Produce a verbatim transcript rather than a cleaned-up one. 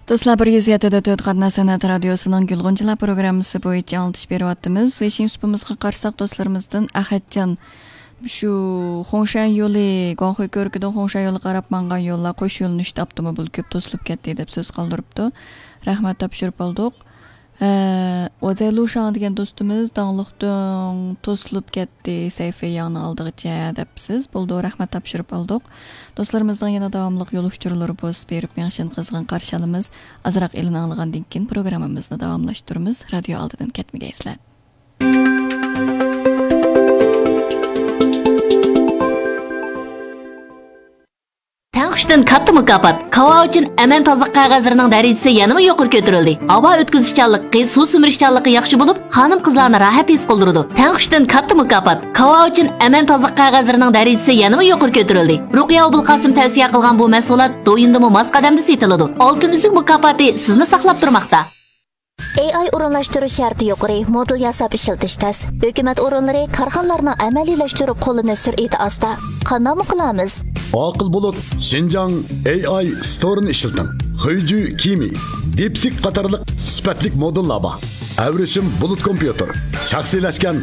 دوستلار، بىر يۈز يەتتە دۆت قاتناش سەنئەت رادىيوسىنىڭ گۈلغۇنچىلار پروگراممىسى بويىچە ئاڭلىتىش بېرىۋاتىمىز. ۋېيشىڭ سۇپىمىزغا قارىساق، دوستلىرىمىزدىن ئەخەتجان، شۇ خۇڭشەن يولى، گۇاڭخۇي كۆۋرۈكىدىن خۇڭشەن يولىغا قاراپ ماڭغان يوللار، قوش يۆنىلىشتە ئاپتوموبىل كۆپ توسۇلۇپ كەتتى، دەپ سۆز قالدۇرۇپتۇ. رەھمەت تاپشۇرۇپ ئالدۇق. ئە، ۋازەي لۇشاڭ دېگەن دوستىمىز، داڭلىق دۆڭ توسۇلۇپ كەتتى، سەيفىياڭنىڭ ئالدىغىچە، دەپسىز. بولدى، رەھمەت تاپشۇرۇپ ئالدۇق. دوستلىرىمىزنىڭ يەنە داۋاملىق يول ئۇچۇرلىرى بولسا بېرىپ مېڭىشىنى قىزغىن قارشى ئالىمىز. ئازراق ئېلان ئاڭلىغاندىن كېيىن پروگراممىمىزنى داۋاملاشتۇرىمىز. رادىيو ئالدىدىن كەتمىگەيسىلەر. تەڭ ئۈچتىن كاتتا مۇكاپات. كاۋاۋىچىن ئەمەن تازىلىق قەغەزلىرىنىڭ دەرىجىسى يەنىمۇ يۇقىرى كۆتۈرۈلدى. ھاۋا ئۆتكۈزۈشچانلىقى، سۇ سۈمۈرۈشچانلىقى ياخشى بولۇپ، خانىم قىزلارنى راھەت ھېس قىلدۇرىدۇ. تەڭ ئۈچتىن كاتتا مۇكاپات. كاۋاۋىچىن ئەمەن تازىلىق قەغەزلىرىنىڭ دەرىجىسى يەنىمۇ يۇقىرى كۆتۈرۈلدى. رۇقىيە ئوبۇلقاسىم تەۋسىيە قىلغان بۇ مەھسۇلات دويىندىمۇ ماس قەدەمدە سېتىلىدۇ. ئالتۇن ئۈزۈك مۇكاپاتى سىزنى ساقلاپ تۇرماقتا. ئېي ئاي ئورۇنلاشتۇرۇش شەرتى يۇقىرى، مودېل ياساپ ئىشلىتىش تەس. ھۆكۈمەت ئورۇنلىرى، كارخانىلارنىڭ ئەمەلىيلەشتۈرۈپ قوللىنىش سۈرئىتى ئاستا. قانداقمۇ قىلىمىز؟ ئاقىل بۇلۇت شىنجاڭ ئېي ئاي ستورىنى ئىشلىتىڭ. خۇيجۈ كىمى، دىپسىك قاتارلىق سۈپەتلىك مودېللار بار. ئەۋرىشىم بۇلۇت كومپيۇتېر، شەخسىيلەشكەن